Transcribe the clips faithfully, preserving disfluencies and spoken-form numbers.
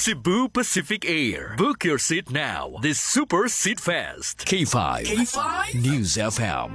Cebu Pacific Air. Book your seat now. This Super Seat Fest. K five. K five. News F M.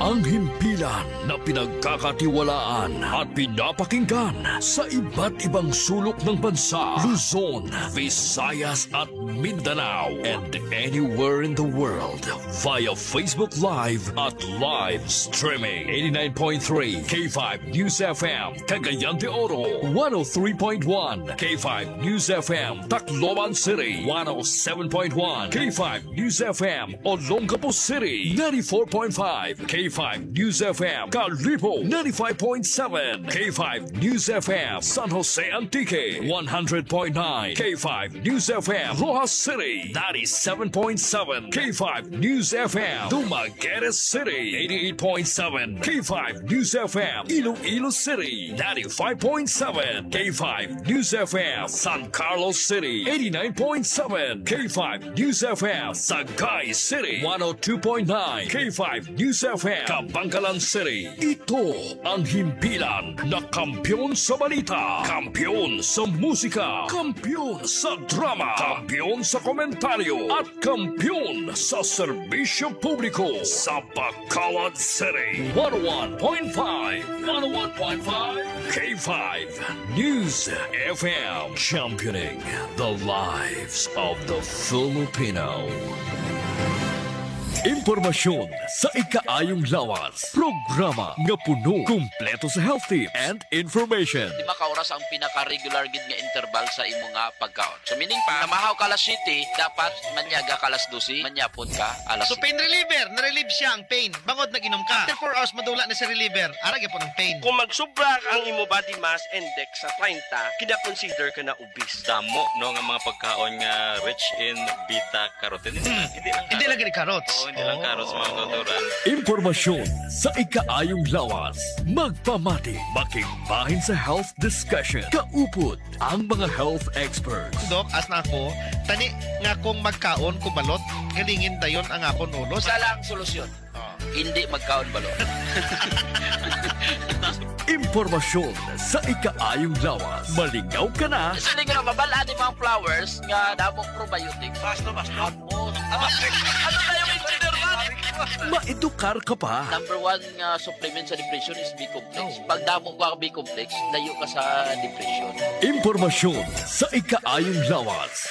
Ang himpilan na pinagkakatiwalaan at pinapakinggan sa iba't ibang sulok ng bansa, Luzon, Visayas at Mindanao, and anywhere in the world via Facebook Live at live streaming. Eighty-nine point three K five News F M, Cagayan de Oro, one oh three point one K five News F M, Tacloban City, one oh seven point one K five News F M, Olongapo City, ninety-four point five K five News F M, Kalibo, ninety-five point seven K five News F M, San Jose Antique, one hundred point nine K five News F M, Roxas City, ninety-seven point seven K five News F M, Dumaguete City, eighty-eight point seven K five News F M, Iloilo City, ninety-five point seven K five News F M, San Carlos City, eighty-nine point seven K five News F M, Sagay City, one oh two point nine K five News F M, Kabankalan City. Ito ang himpilan na kampiyon sa balita, kampiyon sa musika, kampiyon sa drama, kampiyon sa komentaryo, at kampiyon sa serbisyo publiko sa Bacolod City. One oh one point five, one oh one point five K five News F M, championing the lives of the Filipino. Impormasyon sa ikaayong lawas. Programa nga puno, kumpleto sa health tips and information. Lima ka oras ang pinaka-regular gid nga interval sa imo nga pagkaon. So, meaning pa, namahaw ka alas siyete, dapat manyaga ka alas dose, manyapon ka alas So, pain reliever, na-relieve siya ang pain. Bangod nag-inom ka. After four hours, madula na si reliever. Ara gyapon ang pain. Kung magsubra ang imo body mass index sa treinta, kina-consider ka na obese. Damo, no, nga mga pagkaon nga rich in beta carotene. Hindi lang, hindi lang carrots. Hindi lang carrots. Oo, hindi lang carrots, mga kauturan. Impormasyon sa ikaayong lawas. Magpamati, makigbahin sa health discussion. Kaupod ang mga health experts. Dok, as na ako, tani nga kung magkaon ko balot, galingin dayon ang akon ulo. Isa lang solusyon. Ah. Hindi magkaon balot. Impormasyon sa ikaayong lawas. Malingaw ka na. Sa lingaw, mabal-an ni mga flowers nga damong probiotics. Basta, basta. Amo. Ano kayo, engineer man? Maedukar ka pa. Number one nga supplement sa depression is B complex. Oh. Pag damo ka B complex, layo ka sa depression. Impormasyon sa ikaayong lawas.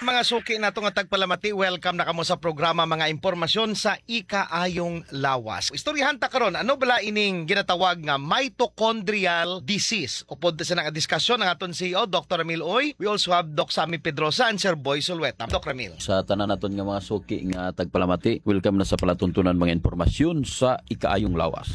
Mga suki nato nga tagpalamati, welcome na kamo sa programa Mga Impormasyon sa Ikaayong Lawas. Istoryahan ta karon, ano bala ining ginatawag nga mitochondrial disease? Upod sa nga diskasyon ang aton C E O, Doctor Ramil Uy. We also have Doc Sammy Pedrosa and Sir Boy Sulueta. Doc Ramil. Sa tanan naton nga mga suki nga tagpalamati, welcome na sa palatuntunan mga impormasyon sa ikaayong lawas.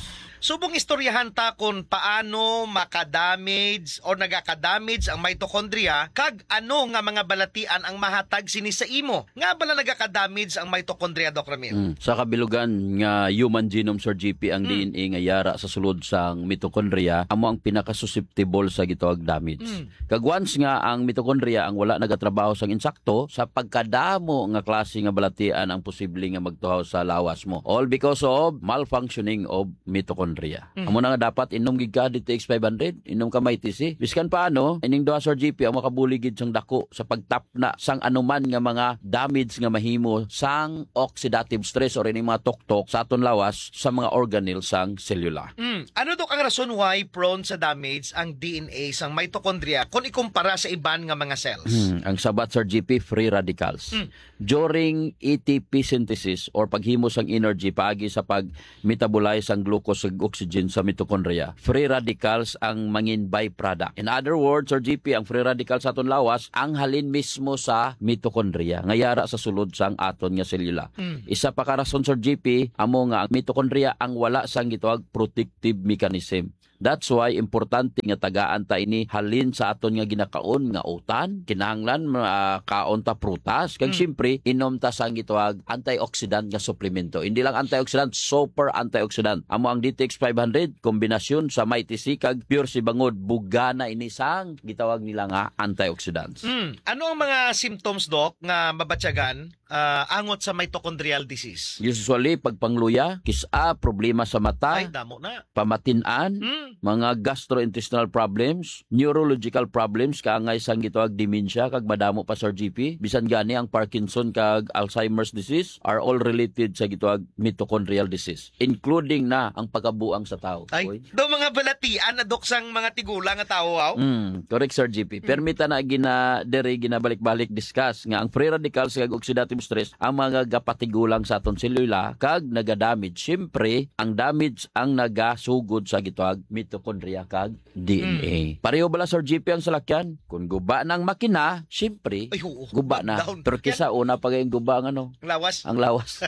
Subong istoryahan ta kung paano makadamage o nagakadamage ang mitochondria kag ano nga mga balatian ang mahatag sini sa imo. Nga bala nagakadamage ang mitochondria, Doc Ramil? Mm. Sa kabilugan nga human genome, Sir G P, ang Mm. D N A nga yara sa sulod sang mitochondria amo ang pinakasusceptible sa gitawag damage. Mm. Kag once nga ang mitochondria ang wala nagatrabaho sang insakto, sa pagkadamo nga klase nga balatian ang posible nga magtuhaw sa lawas mo. All because of malfunctioning of mitochondria. Mm. Amo na nga dapat inom gid ka D T X five hundred, inom ka Mighty C. Biskan paano, ining duha, Sir G P, ang makabulig gid sang dako sa pagtapna sang anuman nga mga damage nga mahimo sang oxidative stress or ining mga tuktok sa aton lawas sa mga organelle sang selula. Mm. Ano, Dok, ang rason why prone sa damage ang D N A sang mitochondria kung ikumpara sa iban nga mga cells? Hmm, ang sabat, Sir G P, free radicals. Hmm. During A T P synthesis or paghimo sang energy paagi sa pag-metabolize sang glucose ug oxygen sa mitochondria, free radicals ang mangin byproduct. In other words, Sir G P, ang free radicals sa aton lawas ang halin mismo sa mitochondria nga yara sa sulod sang aton nga selula. Hmm. Isa pa ka rason, Sir G P, amo nga ang mitochondria ang wala sang gitawag protective mechanism. That's why importante nga tagaan ta ini halin sa aton nga ginakaon nga utan. Kinahanglan, ah, kaon ta prutas. Kag Mm. siyempre, inom ta sang gitawag antioxidant nga suplemento. Hindi lang antioxidant, super antioxidant. Amo ang D T X five hundred, kombinasyon sa Mighty C kag Pure C bangod bugana ini sang gitawag nila nga antioxidants. Mm. Ano ang mga symptoms, Doc, nga mabatyagan ah, angot sa mitochondrial disease? Usually, pagpangluya, kis-a, problema sa mata, Ay, damo na. pamatin-an, Mm. mga gastrointestinal problems, neurological problems, kaangay sang gitawag dementia, kag madamo pa, Sir G P. Bisan gani ang Parkinson kag Alzheimer's disease are all related sa gitawag mitochondrial disease, including na ang pagkabuang sa tao. Ay, Uy. Do mga balatian na, Dok, sang mga tigulang nga tawo, aw? Mm, correct, Sir G P. Mm. Permi ta na gina-, diri ginabalik-balik discuss nga ang free radicals kag oxidative stress ang mga gapatigulang sa aton selula kag nagadamage. Siyempre, ang damage ang nagasugod sa gitawag mitochondria kag D N A. Mm. Pareho bala, Sir G P, ang salakyan? Kung guba na ang makina, siyempre, Ay, oo. guba na. Down. Pero Yan. kisa una pa gayong guba ang ano? Ang lawas. Ang lawas.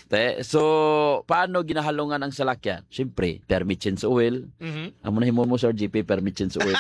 Te, so, paano ginahalungan ang salakyan? Siyempre, permi change oil. Mhm. Amo na himo mo, Sir G P, permi change oil.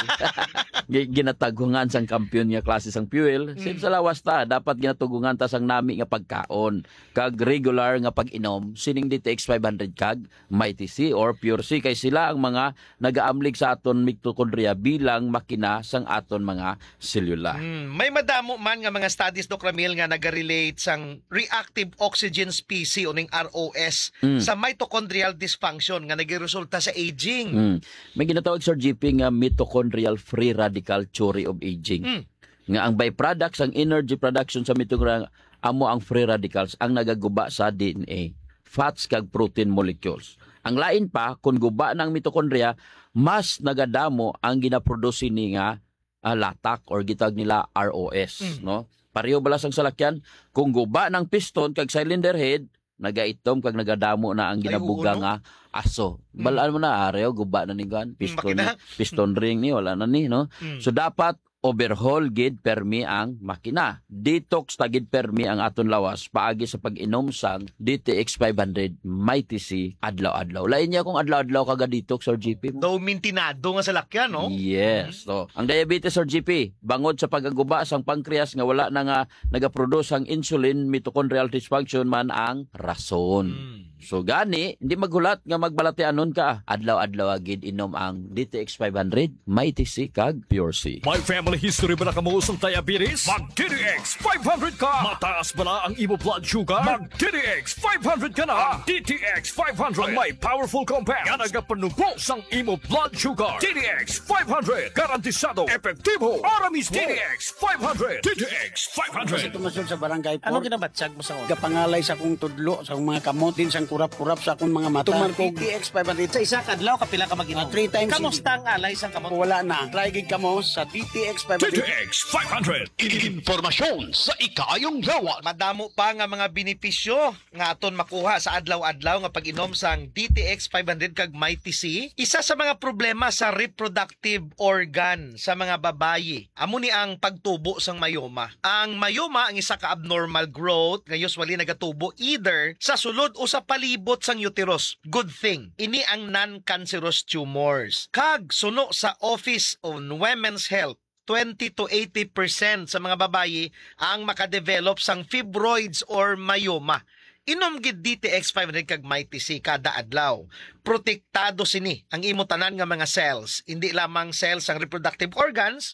Gi-, ginatagungan sang kampiyon nga klase sang fuel. Same Mm. sa lawas ta, dapat ginatugungan ta sang nami nga pagkaon, kag regular nga pag-inom sining D T X five hundred kag Mighty C or Pure C, kay sila ang mga nagaamlig sa aton mitochondria bilang makina sang aton mga selula. Hmm, may madamo man nga mga studies, Doc Ramil, nga nagarelate sang reactive oxygen species o ning R O S Mm. sa mitochondrial dysfunction nga nagiresulta sa aging. Mm. May ginatawag, Sir G P, nga mitochondrial free radical theory of aging. Mm. Nga ang byproduct sang energy production sa mitochondria amo ang free radicals ang nagaguba sa D N A, fats kag protein molecules. Ang lain pa, kung guba na ang mitochondria, mas nagadamo ang ginaproduce ni nga, ah, latak or gitawag nila R O S, Mm. no? Pareho bala sang salakyan, kung guba ng piston kag cylinder head, nagaitom kag nagadamo na ang Ay, oo, ginabuga no? nga aso. Mm. Balaan mo na, areho, guba na ni kuan, Mm, piston, makina. piston ring ni, wala na ni, no? Mm. So, dapat overhaul gid permi ang makina. Detox ta gid permi ang aton lawas paagi sa pag-inom sang D T X five hundred Mighty C adlaw-adlaw. Lain niya kung adlaw-adlaw ka ga-detox, Sir G P mo. Daw mintinado nga salakyan, no? Yes. Mm. So, ang diabetes, Sir G P, bangod sa pagaguba sang pancreas nga wala na nga nagaproduce ang insulin, mitochondrial dysfunction man ang rason. Mm. So, gani, hindi maghulat nga magbalatianon ka. Adlaw-adlaw gid inom ang D T X five hundred, Mighty C kag Pure C. May family history ba na kamo sang diabetes? Mag D T X five hundred ka! Mataas ba na ang imo blood sugar? Mag D T X five hundred ka na! Ang D T X five hundred ang may powerful compound nga nagapanubo sang imo blood sugar. D T X five hundred, garantisado, epektibo, para mismo. D T X five hundred. D T X five hundred. Tumasod sa barangay Ano four. Ginabatyag mo sa una? Gapangalay sa akong tudlo, sa akong mga kamot, din sang kurap-kurap sa akong mga mata. Tuman ko D T X five hundred. Sa isa ka adlaw, kapila ka mag-inom? Ah, three times. Kamusta ang alay sang kamot? Wala na. Try gid kamo sa D T X five hundred. D T X five hundred. Impormasyon sa ikaayong lawas. Madamo pa nga mga benepisyo nga aton makuha sa adlaw-adlaw nga pag-inom sang D T X five hundred kag Mighty C. Isa sa mga problema sa reproductive organ sa mga babayi, amo ni ang pagtubo sang myoma. Ang myoma ang isa ka abnormal growth nga usually nagatubo either sa sulod o sa palibot sang uterus. Good thing, ini ang non-cancerous tumors. Kag suno sa Office on Women's Health, twenty to eighty percent sa mga babayi ang makadevelop sang fibroids or myoma. Inom gid D T X five hundred kag Mighty C kada adlaw. Protektado sini ang imo tanan nga mga cells, hindi lamang cells sang reproductive organs,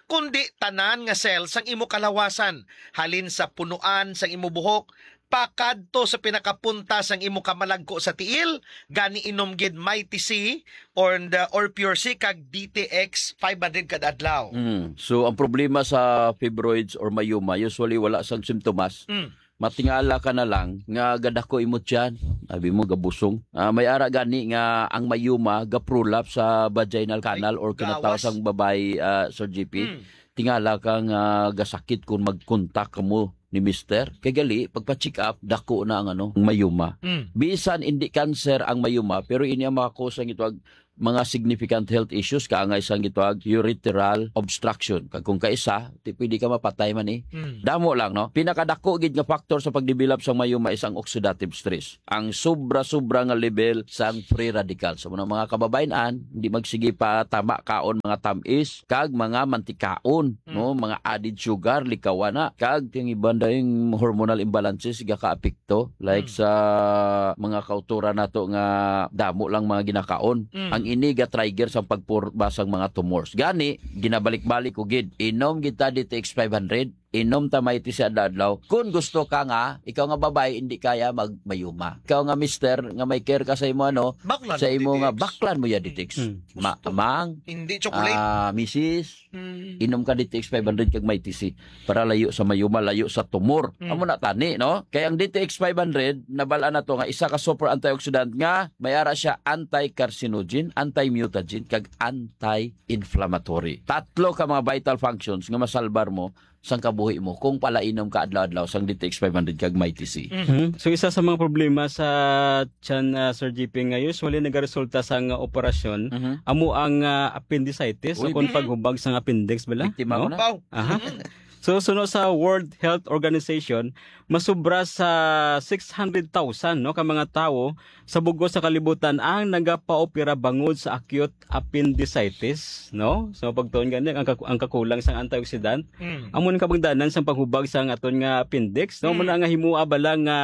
kundi tanan nga cells sang imo kalawasan, halin sa punuan sang imo buhok pakadto sa pinakapunta sang imo kamalagko sa tiil. Gani, inom gid Mighty C or the, or Pure C kag D T X five hundred kada adlaw. Mm. So, ang problema sa fibroids or myoma, usually wala sang simptomas. Mm. Matingala ka na lang nga gadako imo tiyan, abi mo gabusong. Ah, may ara gani nga ang myoma gaprolapse sa vaginal canal or kinataw Gawas. sang babayi, ah, Sir G P. Mm. Tingala ka nga gasakit kung mag-contact kamo ni mister. Kay gali, pagpa-check up, dako na ang ano, ang myoma. Mm. Bisan hindi cancer ang myoma, pero ini ang maka-cause ang gitawag mga significant health issues, kaangay sang gitawag urethral obstruction. Kag kung kaisa, ti pwede ka mapatay man eh. Mm. Damo lang, no? Pinakadako gid nga factor sa pagdevelop sang myoma is ang oxidative stress. Ang sobra-sobra nga level sang free radicals. So, mga kababayen-an, hindi magsige pa tama kaon mga tamis kag mga mantikaon, Mm. no? Mga added sugar, likawan na. Kag ang iban dayong hormonal imbalances, gakaapekto. Like Mm. sa mga kauturan nato nga damo lang mga ginakaon. Mm. Ang ini ga-trigger sang pagpurba sang mga tumors. Gani, ginabalik-balik ko gid, inom gid ta D T X five hundred. inom ta Mighty C adlaw-adlaw. Kung gusto ka nga, ikaw nga babae, hindi kaya magmayuma. Ikaw nga mister, nga may care ka sa imo, ano, Baklan sa mo imo nga D T X. Baklan mo ya D T X. Mm. Ma-, amang, Hindi chocolate. ah, misis, Mm. inom ka D T X five hundred kag Mighty C para layo sa mayuma, layo sa tumor. Mm. Amo na tani, no? Kay ang D T X five hundred, nabal-an nato nga isa ka super antioxidant nga may ara siya anti-carcinogen, anti-mutagen, kag anti-inflammatory. Tatlo ka mga vital functions nga masalbar mo sang kabuhi mo kung palainom ka adlaw-adlaw sang D T X five hundred kag Mighty C. Mhm. So, isa sa mga problema sa tiyan, ah, Sir G P, nga usually nagaresulta sang operasyon, Mhm. amo ang, ah, appendicitis, Uy, o kung bi- paghubag sang appendix, bala? Biktima No? ko na. Pau. Aha. So, suno sa World Health Organization, masubra sa six hundred thousand, no, ka mga tawo sa bug-os sa kalibutan ang nagapaopera bangod sa acute appendicitis, no? So, pagtuon gani ang, kak-, ang kakulang sang antioxidant, Mm. amo ang kabangdanan sang paghubag sang aton nga appendix, no? Mm. Muna nga himua bala nga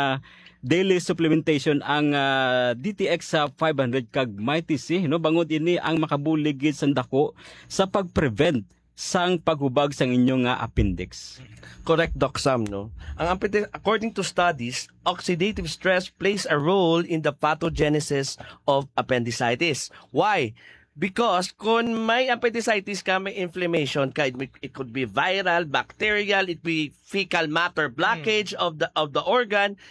daily supplementation ang, ah, D T X sa five hundred kag Mighty C, no? Bangod ini ang makabulig gid sang dako sa pag-prevent sang paghubag sang inyo nga appendix. Correct, Doc Sam, no? Ang appendix, according to studies, oxidative stress plays a role in the pathogenesis of appendicitis. Why? Because kung may appendicitis ka, may inflammation ka, it, it could be viral, bacterial, it be fecal matter blockage of the of the organ,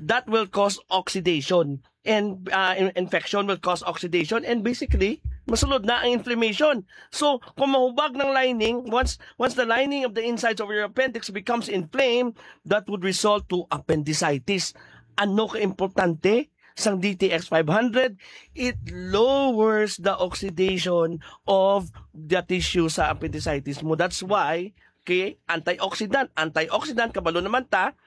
that will cause oxidation. And, uh, in- infection will cause oxidation, and basically, masulod na ang inflammation. So, kung mahubag ng lining, once once the lining of the insides of your appendix becomes inflamed, that would result to appendicitis. Ano ka importante sang D T X five hundred? It lowers the oxidation of the tissue sa appendicitis mo. That's why, okay, antioxidant, antioxidant, kabalo naman ta,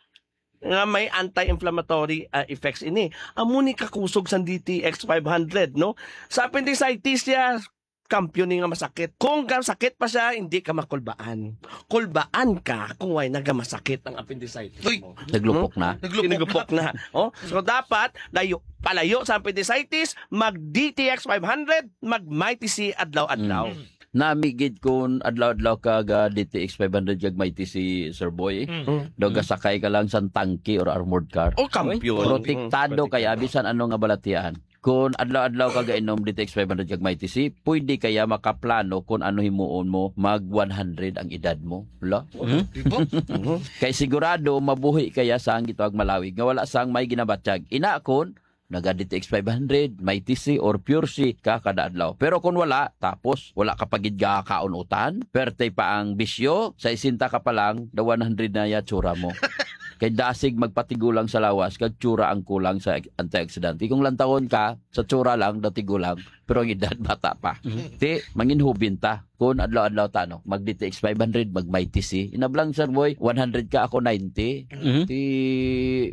nga may anti-inflammatory, ah, effects ini. Amo ni kakusog sang D T X five hundred, no? Sa appendicitis siya, kampiyon ni nga masakit. Kung ka sakit pa siya, hindi ka makulbaan. Kulbaan ka kung way nagamasakit ang appendicitis Uy! mo. Naglupok na. Naglupok Naglupok na. Oh, so dapat layo, palayo sa appendicitis, mag D T X five hundred, mag Mighty C adlaw-adlaw. Mm. Nami gid kun adlaw-adlaw ka ga D T X five hundred kag Mighty C, Sir Boy. Mm. Mm. Daw gasakay ka lang sang tangke or armored car. Oh, kampiyon. Protektado Mm, kaya protektado. bisan ano nga balatian. Kun adlaw-adlaw ka gainom D T X five hundred kag Mighty C, pwede kaya makaplano kun ano himuon mo mag one hundred ang edad mo. Wala? Mhm. Di ba? Mhm. Kay sigurado mabuhi kaya sang gitawag malawig nga wala sang may ginabatyag. Ina kun naga D T X five hundred, Mighty C or Pure C ka kada adlaw. Pero kun wala, tapos wala ka pa gid gakaon utan, perte pa ang bisyo, sesenta ka pa lang, the one hundred na ya tsura mo. Kay dasig magpatigulang sa lawas, kag tsura ang kulang sa antioxidant. Kung lantawon ka, sa tsura lang, datigulang, pero ang edad bata pa. Mhm. Ti, manginhubin ta. Kun adlaw-adlaw ta, no? Mag D T X five hundred, mag Mighty C. Inablang, Sir Boy, one hundred ka, ako ninety. Mhm. Ti,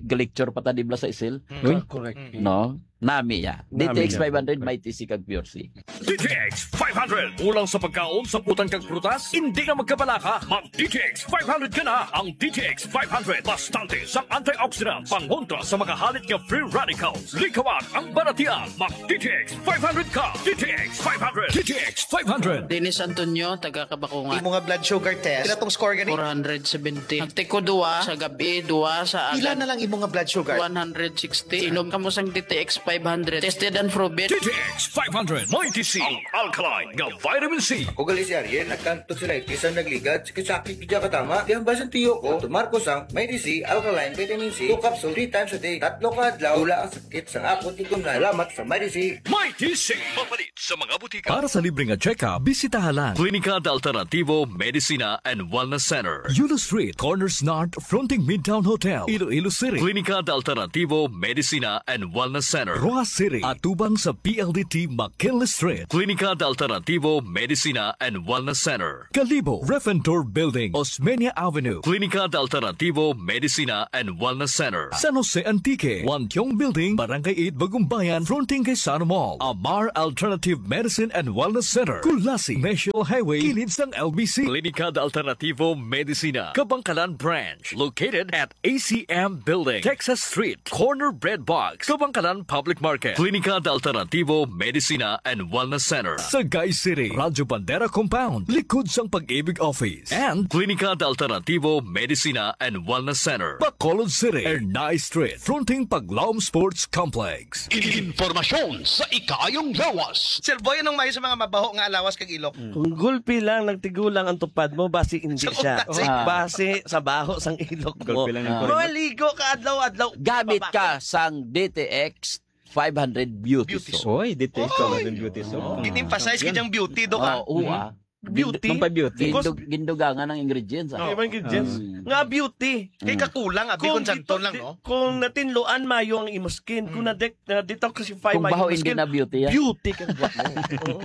galecture pa ta, di bala sa isil? Mm, Uy. Correct. No? Nami ya. Nami D T X ya. five hundred, Mighty C kag Pure C. D T X five hundred. Kulang sa pagkaon, saputan kag prutas? Hindi na magkabalaka. Mag D T X five hundred ka na. Ang D T X five hundred, bastante sang antioxidants, pangontra sa mga halit nga free radicals. Likawan ang balatian. Mag D T X five hundred ka. D T X five hundred. D T X five hundred. Dennis Antonio, taga Kabakungan. Imo nga blood sugar test, pila tong score gani? Four hundred seventy. Nagtiko duwa sa gabi, duwa sa Pila agad. na lang imo nga blood sugar? One hundred sixty. Inom kamo sang D T X five hundred. Tested and proven. D T X five hundred. Mighty C. Ang alkaline nga vitamin C. Ako gali si Ariel, nagkanto sila, isa nagligad, sakit-sakit, di ka tama. Di ang basan tiyo ko, tumar ko sang Mighty C, alkaline, vitamin C, two capsule, three times a day. Tatlo ka adlaw, wala ang sakit sa akon, itom na. Salamat sa Mighty C. Mighty C. Mapalit sa mga butika. Para sa libre nga check-up, bisitaha lang Klinika de Alternativo Medicina and Wellness Center. Yulo Street, Corners North, fronting Midtown Hotel, Iloilo City. Klinika de Alternativo Medicina and Wellness Center. Roxas City, atubang sa P L D T McKinley Street. Klinika de Alternativo Medicina and Wellness Center. Kalibo, Ref and Tour Building, Osmeña Avenue. Klinika de Alternativo Medicina and Wellness Center. San Jose Antique, Wan Tiong Building, Barangay eight, Bagumbayan, fronting kay Sano Mall. Amar Alternative Medicine and Wellness Center, Culasi, National Highway, kilid sang L B C. Klinika de Alternativo Medicina, Kabangkalan Branch, located at A C M Building, Texas Street, corner Bread Box, Kabangkalan Public Market. Klinika de Alternativo Medicina and Wellness Center, Sagay City, Radyo Bandera Compound, likod sang Pag-ibig Office. And Klinika de Alternativo Medicina and Wellness Center, Bacolod City, Ernai Street, fronting Paglaom Sports Complex. Impormasyon sa ikaayong lawas. Sir Boy, anong maayo sa mga mabaho nga lawas kag ilok? Kung gulpi lang nagtigulang ang tupad mo, basi hindi Sa siya. Utas, eh. Ah. Basi sa baho sang ilok mo. Gulpi lang ang Ah. Maligo ka adlaw-adlaw. Gamit Pabakod. Ka sang D T X five hundred Beauty Beauty Soap. Soap. Oy, D T X Oy! five hundred Beauty Soap. Oh. Gin-emphasize ka diyang beauty, Doc, ah. Oh, oo, ah. Beauty. Gin-, Pampabeauty. Gindug-, gindugangan ang ingredients, ah. Iba ingredients. Mm. Nga beauty. Kay Mm. kakulang, abi, Kung kung santon dito-, lang, di-, no? kung natinluan mayo ang imo skin, kung Mm. na-de-, na-detoxify Kung mayo baho, ang hindi skin, na beauty, ah. Beauty ka buhat mo. Oo.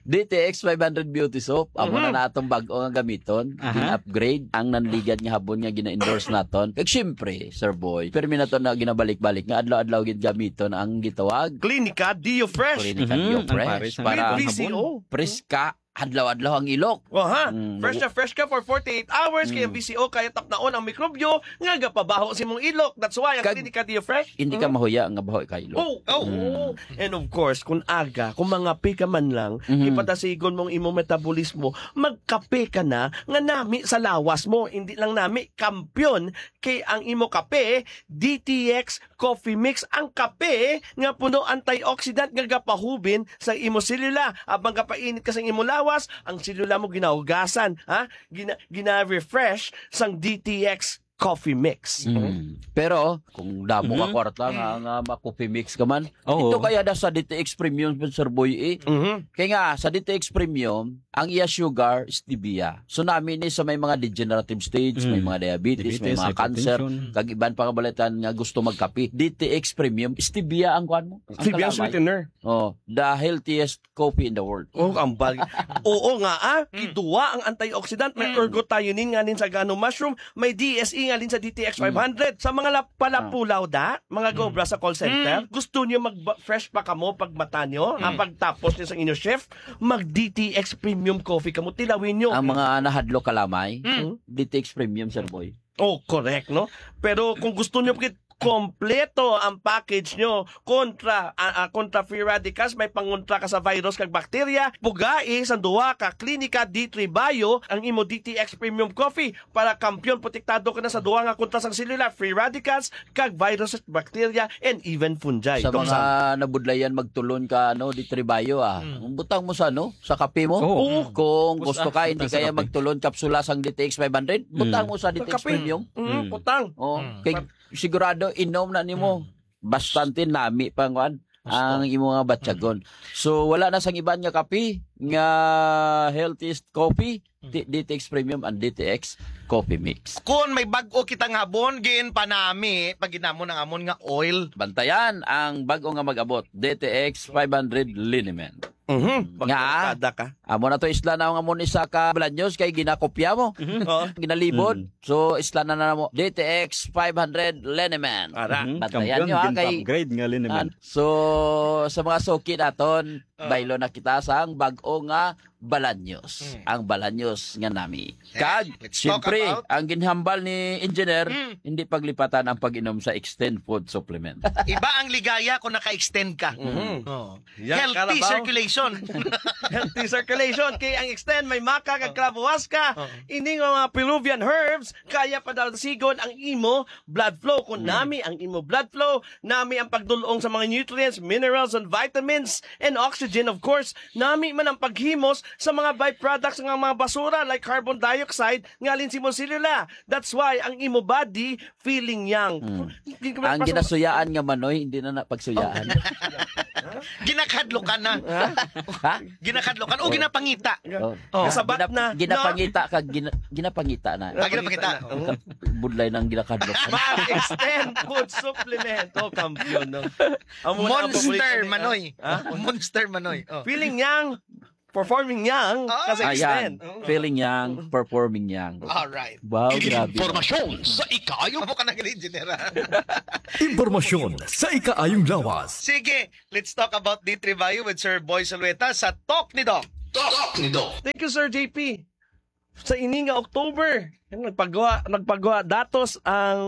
D T X five hundred Beauty Soap, amo na Mhm. natong bag-o nga gamiton, Aha. gin-upgrade ang nanligad nga habon nga gina-endorse naton. Kag syempre, Sir Boy, permi naton na ginabalik-balik nga adlaw-adlaw gid gamiton ang gitawag Klinika Dio Fresh. Klinika Mhm, Dio ang Fresh pares ang para habon. With V C O. Preska adlaw-adlaw ang ilok. Oh, ha? Mm, Fresh na fresh ka for forty-eight hours, kay ang Mm. V C O kaya tapnaon ang mikrobyo nga gapabaho sa imong ilok. That's why ang Kag Klinika Dio Fresh, hindi ka mm. mahuya nga baho ka ilok. Oh, oh, Mm. oh. And of course, kung aga, kung mangape ka man lang, Mhm. ipadasigon mo ang imong metabolismo, magkape ka na nga nami sa lawas mo. Hindi lang nami, kampiyon, kay ang imo kape, D T X Coffee Mix, ang kape nga puno antioxidant nga gapahubin sa imo selula. Habang gapainit ka sa imo lawas, ang selula mo ginahugasan, ha? Gina-, gina-refresh sang D T X Coffee Mix. Mm. Pero kung damo ka Mhm. kwarta nga, nga ma-coffee mix ka man, Oo. ito kaya da sa D T X Premium, Sir Boy, eh. Mhm. Kaya nga, sa D T X Premium, ang iya sugar, stevia. So, nami ni sa may mga degenerative stage, may Mm. mga diabetes, may Diabetes, mga cancer, hypertension. Kag iban pa nga balatan nga gusto magkape. D T X Premium, stevia ang kuan mo. Ang Stevia ang kalamay. Sweetener. Oh, the healthiest coffee in the world. Oh, ang bal-, oo nga, ah. Mm. Kiduwa ang antioxidant. May Mm. ergothioneine nga nin sa gano mushroom. May D S E nga nin sa D T X Mm. five hundred. Sa mga lap-, palapulaw da, mga Mm. gobra sa call center, Mm. gusto niyo mag-, fresh pa kamo pag mata niyo, ah, Mm. pagtapos niyo sa inyo shift, mag D T X Premium Coffee kamo. Tilawin niyo. Ang mga nahadlok kalamay, Mm. D T X Premium, Sir Boy. Oh, correct, no? Pero kung gusto niyo pagkit-, kompleto ang package nyo kontra, ah, ah, kontra free radicals, may pangontra ka sa virus kag bakterya, pugai sa duha ka Klinika D three Bio ang imo D T X Premium Coffee para kampiyon protektado ka na sa duha nga kontra sang selula, free radicals, kag virus, bakterya, and even fungi. Sa Tong mga Sam. Nabudlayan magtulon ka, ano, D three Bio, ah. Mm. Butang mo sa, ano, sa kape mo. Oo. Oo. Kung Butang, gusto ka, hindi butang sa kaya kape. Magtulon kapsula sang D T X five hundred, butang Mm. mo sa Sa D T X kape. Premium. Mm, Mm. butang. Oh, Mm. kay sigurado inom na nimo. Mm. Bastante nami pa ang kuan, Gusto. Ang imo nga batyagon. Mm. So, wala na sang iban nga kape, nga healthiest coffee, Mm. D-, D T X Premium and D T X Coffee Mix. Kung may bag-o kita nga habon, gin panami, pag ginamon ang amon nga oil. Bantayan ang bag-o nga mag-abot, D T X five hundred Liniment. Mhm. Nga, Magkada ka. Amo na to, isla na nga mo ni sa ka Balaños kay ginakopya mo. Mhm. Oo. Ginalibod. Mm. So, isla na na mo. D T X five hundred Liniment. Ara. Mhm. Bantayan Kampiyon, nyo, ha, kay, ginpa-upgrade nga Liniment. Ah, so, sa mga suki naton, Ah. baylo na kita sang bag-o nga Balaños. Mm. Ang Balaños nga nami. Eh, Kag, let's talk siyempre, about ang ginhambal ni Engineer, Mm. hindi paglipatan ang pag-inom sa Extend Food Supplement. Iba ang ligaya kung naka-extend ka. Mhm. Oo. Yan, Healthy Carabao. Circulation. Healthy circulation. Kay ang Extend may maca kag Oh. Clavo Huasca. Oh. Ini nga mga Peruvian herbs, kaya padalasigon ang imo blood flow. Kung Mm. nami ang imo blood flow, nami ang pagdulong sa mga nutrients, minerals, and vitamins, and oxygen, of course. Nami man ang paghimos sa mga byproducts nga mga basura like carbon dioxide nga alin sa imong selula. That's why ang imo body feeling young. Mm. Hindi ka Ang mapasok- ginasuyaan nga manoy, hindi na na pagsuyaan. Oh. Ginakadlokan na. Ha? Ha? Ginakadlokan o Oh. ginapangita? Oh. Oh. Nasabat Ginap-, na. Ginapangita ka, gina-, ginapangita na. Ah, ginapangita. Ginapangita na. Oh. Budlay ng ginakadlokan. Mag-extend food supplement. Oh, kampiyon, no? Amo na ang Monster, paborito ni, Manoy. Ha? Monster, Manoy. Oh. Feeling young, performing young, Oh. kasi Ayan. extend. Oh. Feeling young, performing young. Alright. Wow, grabe. Impormasyon sa ikaayong Amo ka na gali, General. Impormasyon sa ikaayong lawas. Sige, let's talk about D three Bio with Sir Boy Solweta sa Talk ni Doc. Talk ni Doc. Thank you, Sir J P. Sa ini nga October, nagpagawa, nagpagawa datos ang,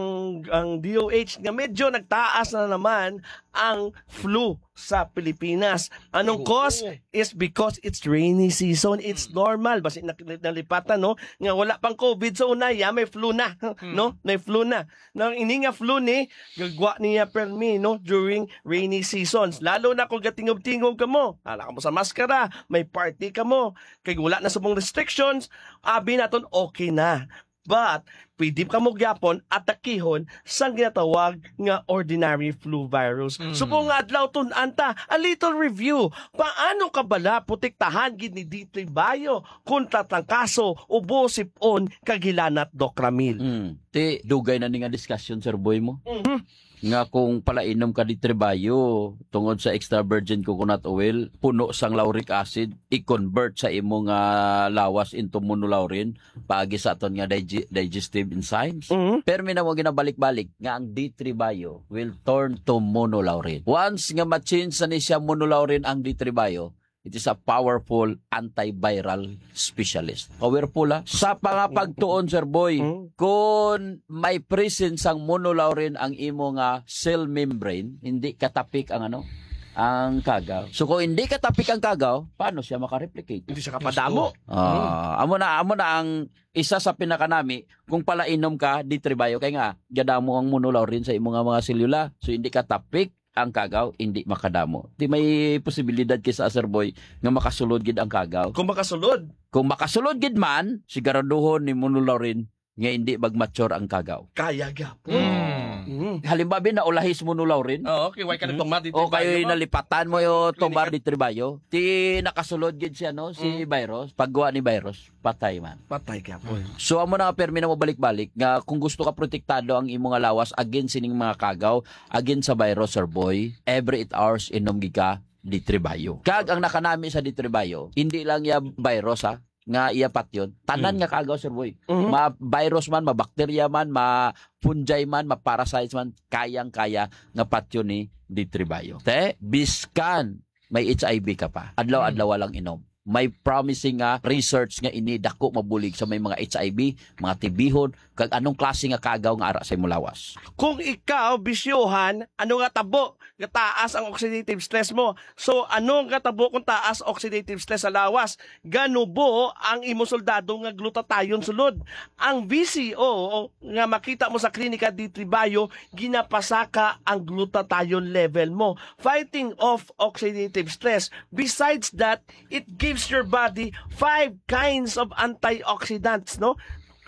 ang D O H nga medyo nagtaas na naman ang flu sa Pilipinas. Anong Oo. cause? Is because it's rainy season. It's Mm. normal. Basi nak-, nalipatan, no? Nga wala pang COVID, so una, ya, may flu na. Mm. No? May flu na. Nang ini nga flu ni, gagwa niya permi, no? During rainy seasons. Lalo na kung gatingob-tingob ka mo. Ala ka mo sa maskara, may party ka mo. Kay wala na sa mong restrictions, abi naton okay na. But, pwede ka mo gyapon atakihon sang ginatawag nga ordinary flu virus. Mm. Subong nga adlaw, tun-an ta, a little review. Paano ka bala protektahan gid ni D three Bio kontra trangkaso, ubo, sip-on, kag hilanat, Doc Ramil? Mm. Ti, dugay na ni nga discussion, Sir Boy mo. Mhm. Nga kung palainom ka D three Bio tungod sa extra virgin coconut oil, puno sang lauric acid, i-convert sa imo nga lawas into monolaurin, paagi sa aton nga digi-, digestive enzymes. Mhm. Permi na mo ginabalik-balik nga ang D three Bio will turn to monolaurin. Once nga ma-change na ni siya monolaurin ang D three Bio, it is a powerful antiviral specialist. Powerful, ha? Sa pangapagtuon, Sir Boy, Mm. kung may presence sang monolaurin ang imo nga cell membrane, hindi katapik ang ano, ang kagaw. So kung hindi katapik ang kagaw, paano siya makareplicate? Hindi siya kapadamo. Ah, amo na, amo na ang isa sa pinakanami kung palainom ka, D three Bio, kay nga gadamo ang monolaurin sa imo nga mga selula. So hindi katapik ang kagaw, hindi makadamo. Di may posibilidad kay sa Sir Boy nga makasulod gid ang kagaw. Kung makasulod. Kung makasulod gid man, siguraduhon ni monolaurin nga hindi mag-mature ang kagaw. Kaya gyapon. Mm. Mm. Halimbawa, bin, naulahi si monolaurin. Oo, kay why ka Mm. nagtumat dito O kay kayo, ma? Nalipatan mo yung Klinika. Tomar de Trebayo. Ti nakasulod gid siya, no? Si Mm. virus. Pagguwa ni virus, patay man. Patay gyapon. So, amo na nga, permi na mo balik-balik nga kung gusto ka protektado ang imo nga lawas against sining mga kagaw, against sa virus, Sir Boy, every eight hours, inom gid ka D three Bio. Kag ang nakanami sa D three Bio, hindi lang iya virus, ha, nga iya patyon. Tanan Mm. nga kagaw, Sir Boy. Mhm. Ma-virus man, ma-bacteria man, ma-fungi man, ma-parasites man, kayang-kaya nga patyon ni D three Bio. Te, biskan may H I V ka pa, adlaw-adlaw Mm. lang inom. May promising nga research nga ini dako mabulig sa may mga H I V, mga T B-hon, kag anong klase nga kagaw nga ara sa imo lawas. Kung ikaw bisyohan, ano nga tabo nga taas ang oxidative stress mo? So, ano nga tabo kung taas oxidative stress sa lawas? Ganubo ang imo soldado nga glutathione sulod. Ang V C O nga makita mo sa Klinika D three Bio, ginapasaka ang glutathione level mo, fighting off oxidative stress. Besides that, it gives your body five kinds of antioxidants, no?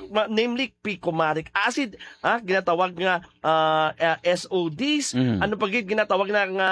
Ma-, namely, picomaric acid, ha, ginatawag nga, ah, ah, S O Ds. Mm. Ano pa gid ginatawag na nga,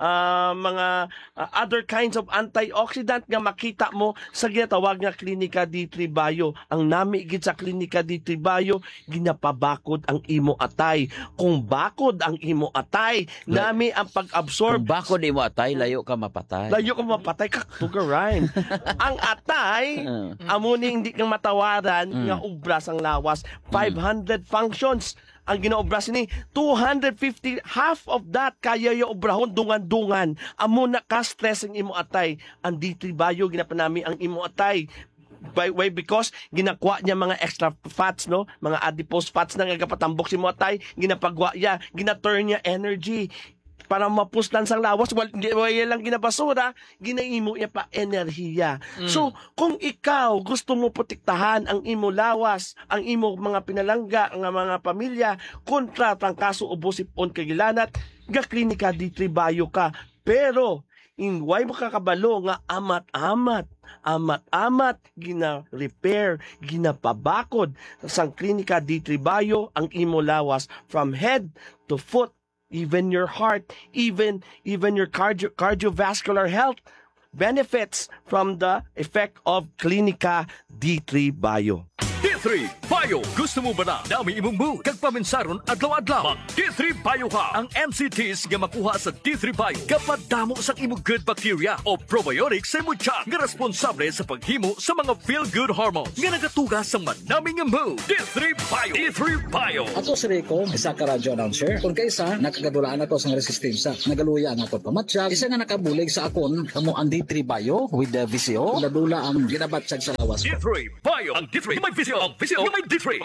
ah, mga, ah, other kinds of antioxidant nga makita mo sa ginatawag nga Klinika D three Bio? Ang nami gid sa Klinika D three Bio, ginapabakod ang imo atay. Kung bakod ang imo atay, La- nami ang pag-absorb. Kung bakod imo atay, layo ka mapatay. Layo ka mapatay, ka tugaran. Ang atay, Uh. amo ni hindi kang matawaran Mm. nga obra sang lawas. Mm. Five hundred functions ang ginaobra sini. Two hundred fifty, half of that, kaya ya obrahon dungan-dungan. Amo na ka-stress ang imo atay. Ang D three Bio, ginapanami ang imo atay. By, why? Because ginakuha niya mga extra fats, no? Mga adipose fats na nga gapatambok si mo atay, ginapagwa niya, gina-turn niya energy para mapuslan sang lawas. Wal-, di, wala lang ginabasura, ginaimo niya pa enerhiya. Mm. So, kung ikaw gusto mo protektahan ang imo lawas, ang imo mga pinalangga, ang mga pamilya, kontra trangkaso, ubo, sip-on, kag hilanat, ga Klinika D three Bio ka. Pero, in way mo kakabalo nga amat-amat, amat-amat, gina-repair, ginapabakod sang Klinika D three Bio ang imo lawas from head to foot, even your heart, even, even your cardio-, cardiovascular health benefits from the effect of Klinika D three Bio. D three Bio. Gusto mo ba na dami imong mood kag paminsaron adlaw-adlaw? Mag D three Bio ka. Ang M C Ts nga makuha sa D three Bio gapadamo sang imo good bacteria o probiotics sa imo tiyan nga responsable sa paghimo sa mga feel-good hormones nga nagatuga sang manami nga mood. D three Bio. D three Bio. Ako si Rico, isa ka radyo announcer. Kung kaisa, nakagadulaan ako sang resistensya. Nagaluya ang akon pamatyag. Isa nga nakabulig sa akon, kamo ang D three Bio with the V C O. Dula-dula ang ginabatyag sa lawas ko. D three Bio. Ang D three may V C O. Ang V C O may D three.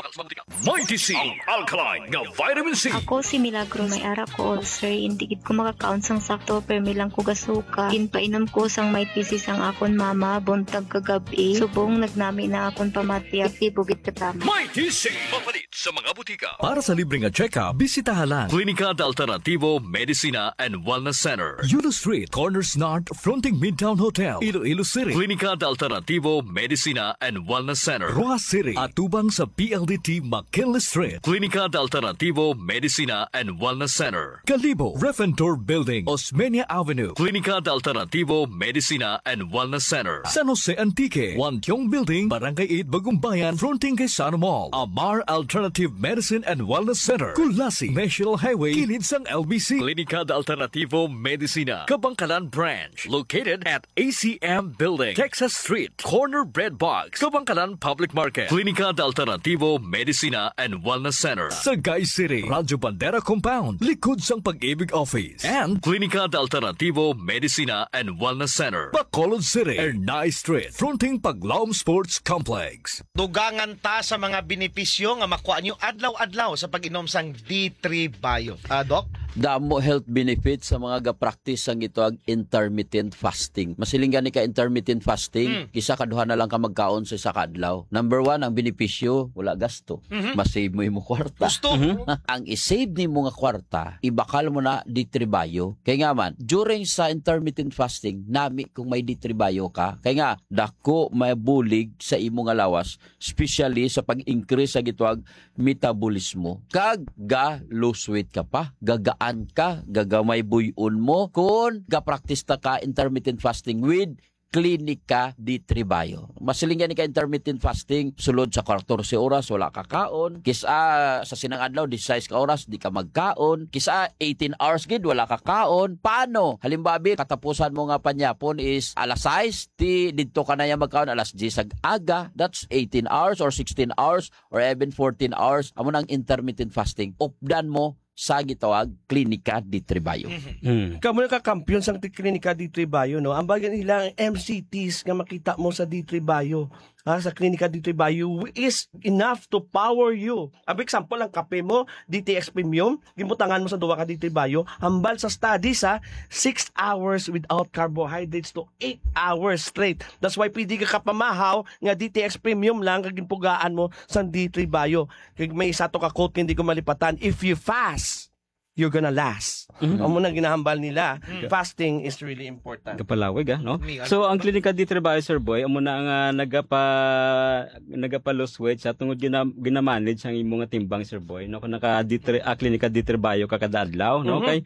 Mighty C, ang alkaline nga vitamin C. Ako si Milagro, may ara ko ulcer. Hindi gid ko makakaon sang sakto, permi lang ko gasuka. Ginpainom ko sang Mighty C sang akon mama, buntag kag gab-i. Subong nagnami na akon pamatyag, epektibo gid katama. Mighty C, mapalit sa mga butika. Para sa libre nga check-up, bisitaha lang Klinika de Alternativo Medicina and Wellness Center, Yulo Street, Corners North, fronting Midtown Hotel, Iloilo City. Klinika de Alternativo Medicina and Wellness Center, Roxas City, atubang sa P L D T McKinley Street. Klinika de Alternativo Medicina and Wellness Center, Kalibo, Refentor Building, Osmeña Avenue. Klinika de Alternativo Medicina and Wellness Center, San Jose Antique, Wantiong Building, Barangay eight, Bagumbayan, fronting kay Sano Mall. Amar Alternative Medicine and Wellness Center, Culasi, National Highway, kilid sang L B C. Klinika de Alternativo Medicina, Kabangkalan Branch, located at A C M Building, Texas Street, corner Bread Box, Kabangkalan Public Market. Klinika de Alternativo Medicina and Wellness Center, Sagay City, Radyo Bandera Compound, likod sang Pag-ibig Office. And Klinika de Alternativo Medicina and Wellness Center, Bacolod City, Ernai Street, fronting Paglaom Sports Complex. Dugangan ta sa mga benepisyo nga makuha nyo adlaw-adlaw sa pag-inom sang D three Bio. Ah, Doc? Damo health benefits sa mga ga-practice sang gitawag intermittent fasting. Masiling gani ka intermittent fasting, Mm. isa ka duha na lang ka magkaon sa isa ka adlaw. Number one, ang benepisyo, wala gasto. Mhm. Ma-save mo imo kwarta. Gusto. Mhm. Ang i-save nimo nga kwarta, ibakal mo na D three Bio. Kay nga man, during sa intermittent fasting, nami kung may D three Bio ka. Kay nga, dako mabulig sa imo nga lawas, especially sa pag-increase sa gitawag metabolismo. Kag ga-lose weight ka pa, gagaan ka, gagamay buy-on mo. Kung ga-practice ta ka intermittent fasting with Klinika D three Bio. Masiling gani ka intermittent fasting, sulod sa katorse oras, wala ka kaon. Kis-a sa sinang adlaw, disisais ka oras, di ka magkaon. Kis-a eighteen hours gid, wala ka kaon. Paano? Halimbawa, katapusan mo nga panyapon is alas sais, ti didto ka na ya magkaon alas diyes ag aga. That's eighteen hours or sixteen hours or even fourteen hours. Amo na ang intermittent fasting. Updan mo sa gitawag Klinika D three Bio. Mhm. Mm. Kamo na ka kampiyon sang ti-, Klinika D three Bio, no? Ang bagay nila, ang M C Ts nga makita mo sa D three Bio, ha, sa Klinika D three Bio is enough to power you. Ang example, ang kape mo, D T X Premium, gibutangan mo sa duwa ka D three Bio, hambal sa study sa six hours without carbohydrates to eight hours straight. That's why pwede ka kapamahaw nga D T X Premium lang kag ginpugaan mo sa D three Bio. Kay may isa to ka quote nga hindi ko malipatan, "If you fast, you're gonna last." Mhm. Amo na ginahambal nila. Mm. Fasting is really important. Kapalawig, ah, no? May So, ang ano pa? Klinika D three Bio, Sir Boy, amo na ang, ah, nagapa-, nagapa-lose weight sa tungod gina-, ginamanage ang imo nga timbang, Sir Boy, no? Kung naka D three, ah, Klinika D three Bio ka kada adlaw, no? Mhm. Kay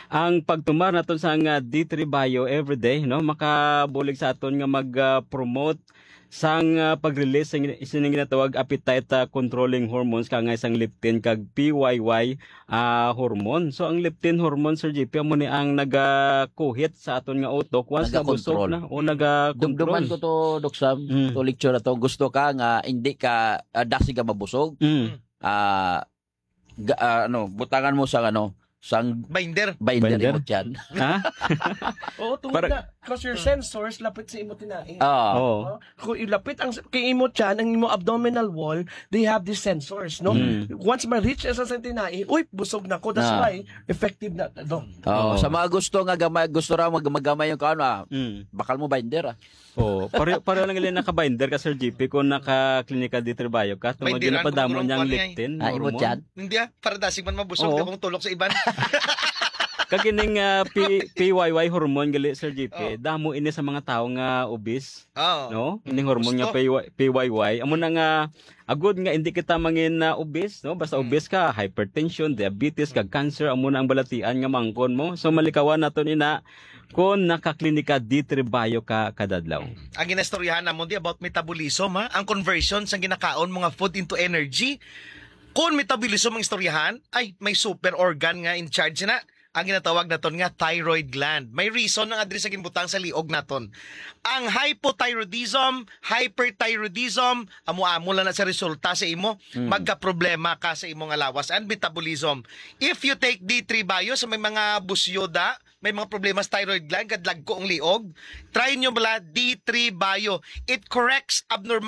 ang pagtumar naton sa nga D three Bio everyday, no? Makabulig sa aton nga mag, ah, promote sang, ah, pag-release sang, sini nga ginatawag appetite, ah, controlling hormones, kangay sang leptin kag P Y Y, ah, hormone. So, ang leptin hormone, Sir J P, amo ni ang nagakuhit sa aton nga utok once nabusog Nagakontrol. na o nagakontrol. Dumduman ko to, Doc Sam, Mm. to lecture na to. Gusto ka nga hindi ka, ah, dasig ka mabusog? Mm. Ah, ga-, ah, ano, butangan mo sang, ano, sang Binder. binder Binder? imo tiyan. Ha? Oo, tungod Para na, 'cause your sensors lapit sa imo tinai. Ah. Oo. No? Kung ilapit ang s-, kay imo tiyan, ang imo abdominal wall, they have these sensors, no? Mm. Once ma-reach sa, sa tinai, uy, busog na ko. That's Ah. why effective na, Doc. Oo, Oo. sa mga gusto nga gamay, gusto ra mag-, magamay yung kaon, ah, Mm. bakal mo binder, ah. Oo, pareho, pareho lang gali naka-binder ka, Sir J P, kung naka-Klinika D three Bio ka, tungod Binderan ginapadamo ko niya ang kurang kuan, eh. leptin, Ah, imo hormone. tiyan? Hindi, ah, para dasig man mabusog, Oo. di akong tulok sa iban. Kag ining, ah, P-, P Y Y hormone gali, Sir J P, Oh. damo ini sa mga tawo nga obese, Oh. no? Ining hormone nga Gusto. P Y, P Y Y. Amo na nga, agod nga hindi kita mangin na obese, no? Basta Mm. obese ka, hypertension, diabetes, kag cancer, amo na ang balatian nga mangkon mo. So, malikawan naton ina kung nakaklinika D three Bio ka kadadlaw. Ang ginastoryahan namon di about metabolism, ha? Ang conversion sang ginakaon mo nga food into energy. Kung metabolism ang istoryahan, ay may super organ nga in charge na. Ang ginatawag naton nga thyroid gland. May reason nga diri sa ginbutang sa liog naton. Ang hypothyroidism, hyperthyroidism, amo-amo lang na sa resulta sa imo, Mm. magkaproblema ka sa imo nga lawas and metabolism. If you take D three Bio sa may mga busyoda, may mga problema sa thyroid gland, kadlagko ang liog, try nyo bala D three Bio. It corrects abnormal